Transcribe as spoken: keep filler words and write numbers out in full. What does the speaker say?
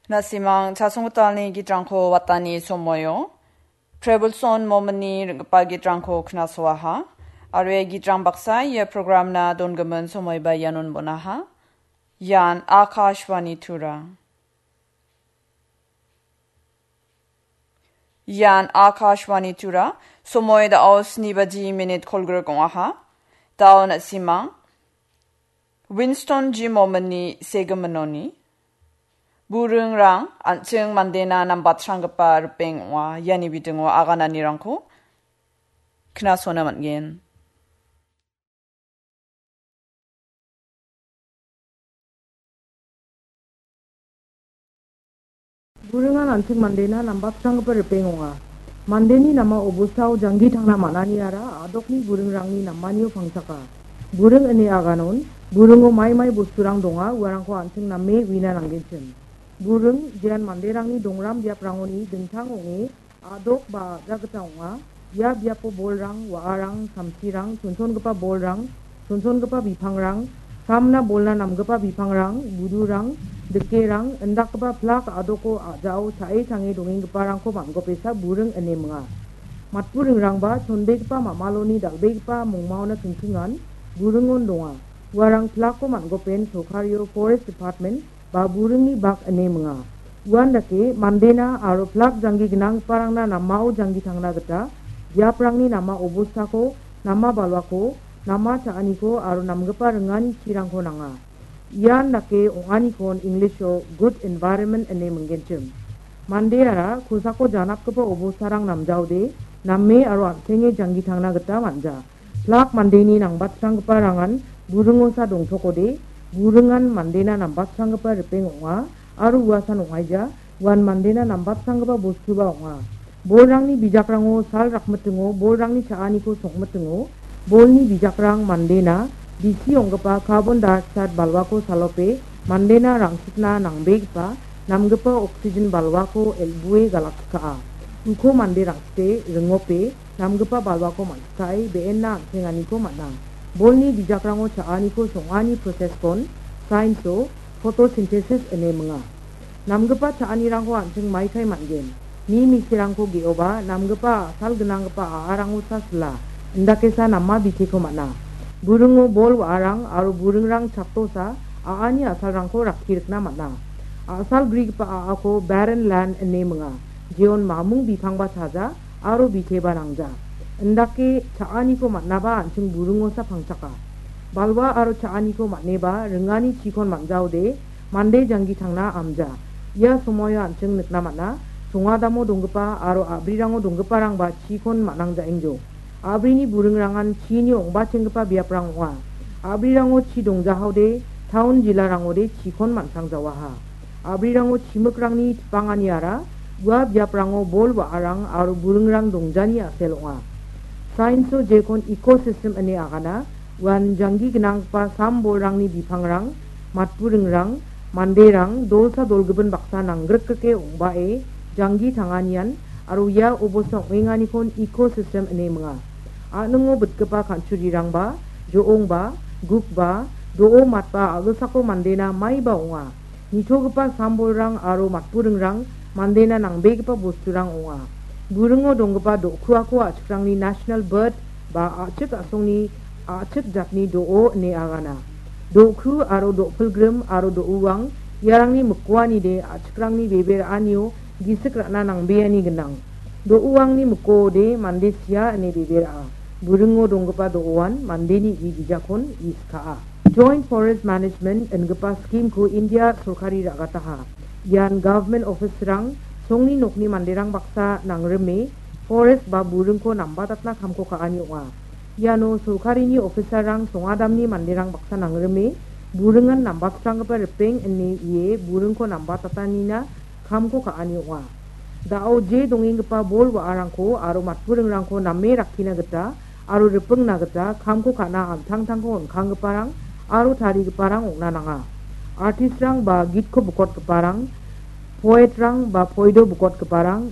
Nasimang chasonggitalni gitrangko watani somoio Prebulson Momini ring·gipa gitrangko knasoaha. Aro ia gitrang baksa ia programna dongimin somoiba ianon bonaha. Ian Akashvani Tura. Ian Akashvani Tura, somoi da·o sni baji minit kolgrik ong·aha. Da·o na·simang Winston G Momini segiminoni buringrang an·ching mandena nambatranggipa ripeng ong·a. Iani bidingo agananirangko knasona man·gen. Buringan an·ching mandena nambatranggipa ripeng ong·a. Mandeni nama obostao janggi tangna man·aniara a·dokni buringrangni namanio pangchaka. Buring ine aganon, buringo mai mai bosturang donga, uarangko an·ching name uina nanggenchim. Buring, jean manderangni dongram biaprangoni dingtang ong·e, a·dok ba a·ja gita ong·a. Ia biapo bolrang, wa·arang, samsirang, chonchongipa bolrang, chonchongipa bipangrang, samna bolna namgipa bipangrang, budurang, dikerang, indakgipa plak a·doko a·jao cha·e change dongenggiparangko man·gopesa buring ine minga. Matburingrangba chonbegipa mamaloni dal·begipa mongmaona kingkingan buringon donga. Uarang plakko man·gopen sorkario Forest Department ba buringni bak ine minga. Uandake mandena aro plak janggi gnanggiparangna namao janggi tangna gita biaprangni nama obostako, nama balwako, nama cha·aniko aro namgipa ringani chirangko nanga. Ian dake ong·anikon English-o good environment ine minggenchim. Mandeara kosako janapgipa obostarang namjaode, name aro an·senge janggi tangna gita man·ja. Plak mandeni nambatranggiparangan buringosa dongtokode, buringan mandena nambatranggipa ripeng ong·a, aro uasan ong·aija, uan mandena nambatranggipa bostuba ong·a. Bolrangni bijakrango sal rakmitingo, bolrangni cha·aniko songmitingo, bolni bijakrang mandena bisi ong·gipa carbon dioxide balwako salope mandena rangsitna nangbegipa namgipa oxygen balwako el·bue galakchika·a. Uko mande rangsite ringope namgipa balwako man·sikae be·enna an·senganiko man·a. Bolni bijakrango cha·aniko song·ani process-kon science-o photosynthesis ine minga. Namgipa cha·anirangko an·ching maikai man·gen. Mi miserangko ge·oba namgipa a·sal gnanggipa a·arangosa sila, indakesa nama biteko man·a. Buringo bol wa·arang aro buringrang chattosa a·ani a·salrangko rakki rikna man·a. A·sal grigipa a·ako barren land ine minga. Jeon mamung bipangba chaja, aro biteba nangja. Indake cha·aniko man·aba an·ching buringosa pangchaka. Balwa aro cha·aniko man·eba ringani chikon man·jaode mande janggi tangna amja. Ia somoio an·ching nikna man·a, songadamo donggipa aro a·brirango donggiparangba chikon man·angjaengjo. A·brini buringrangan chini ong·bachenggipa biaprang ong·a. A·brirango chi dongjahaode, taon jilarangode chikon man·sangjawaha. A·brirango chimikrangni tipanganiara ua biaprango bol wa·arang aro buringrang dongjani a·sel ong·a. Science-o jekon ecosystem ine agana, uan janggi gnanggipa sam bolrangni bipangrang, matburingrang, manderang, dolsa dolgimin baksa nanggrikgrike ong·bae janggi tanganian aro ia obosta ong·enganikon ecosystem ine minga. A·ningo bitgipa kan·churirangba, jo·ongba, gukba, do·o matba a·gilsako mandena maiba ong·a. Nitogipa sambolrang aro matburingrang mandena nangbegipa bosturang ong·a. Buringo donggipa do·kuako a·chikrangni national bird ba a·chik a·songni a·chik jatni do·o ine agana. Do·ku aro do·pilgrim aro do·uang iarangni mikoanide a·chikrangni bebe ra·anio gisik ra·na nangbeani gnang. Do·uangni mikoode mande sia ine bebe ra·a. Buringo donggipa do·oan mandeni gi gijakon iskaa. Joint Forest Management ingipa scheme-ko India sorkari ra·gataha. Ian government office-rang, songni nokni manderang baksa nangrime forest ba buringko nambatatna kamko ka·ani ong·a. Iano sorkarini officer-rang songadamni manderang baksa nangrime buringan nambatranggipa ripeng ine ie buringko nambatatanina kamko ka·ani ong·a. Da·o je dongenggipa bol wa·arangko aro matburingrangko name rakkina gita aro ripingna gita kamko ka·na an·tangtangko on·kanggiparang aro tarigiparang ong·na nanga. Artistrang ba gitko bukotgiparang, poetrang ba poido bukotgiparang,